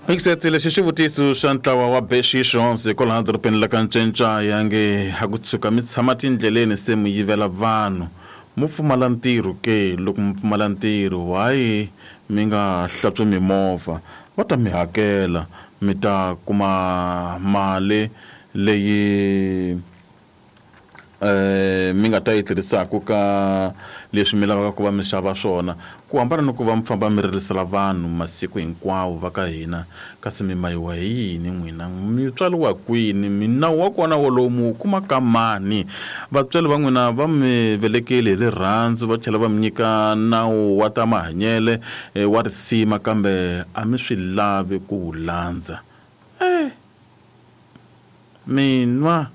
Mixet lexi xivutiso xa ntlawa wa Bexixons hikwalaho dorobeni la ka Ncencaya nge a ku tshuka mi tshama tindleleni se mi yivela vanhu mu pfumala ntirho ke loko mi pfumala ntirho why mi nga hlantswi mimovha va ta mi hakela mi ta kuma mali leyi mi nga ta yi tirhisaka ka leswi mi lavaka ku va mi xava swona ku hambana ni ku va mi famba mi ririsela vanhu masiku hinkwawo va ka hina kasi mi mayiwa hi yini n'wina mi tswariwa kwini minawu wa kona wolowo mi wu kuma ka mani vatswari va n'wina va mi velekile hi rirhandzu va tlhela va mi nyika nawu wa ta mahanyele wa risima kambe a mi swi lavi ku wu landza eh minwa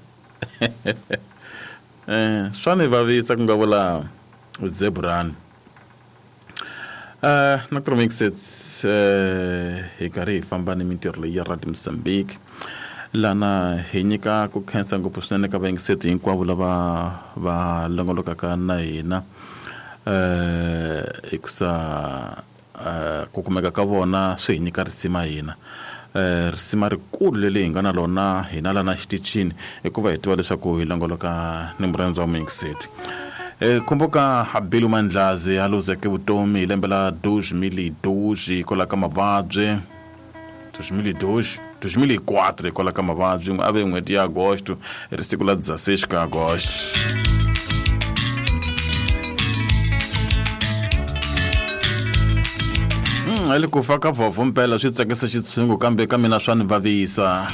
eh swa ni vavisa ku nga vula zebrani na Mixets hi karhi hi famba ni mintirho leyi ya Radio Mozambique lana hi nyika ku khensa ngopfu swinene ka vayingiseti hinkwavo lava va longolokaka na hina hikusa ku kumeka ka vona swi hi nyika risima hina risima rikulu leri hi nga na lona hina lana xitichini hikuva hi tiva leswaku hi longoloka ni murhandzi wa muyingiseti kumbuka Bilu Mandlazi a luzeke vutomi hi lembe la 2012 hikwalaho ka mavabyi 2012 2004 hikwalaho ka mavabyi a ve n'hweti ya agosto hi ri siku la 16 ka agosto hi le ku fa ka vhovho mpela swi tsakisa xitshungu kambe ka mina swa ni vavisa.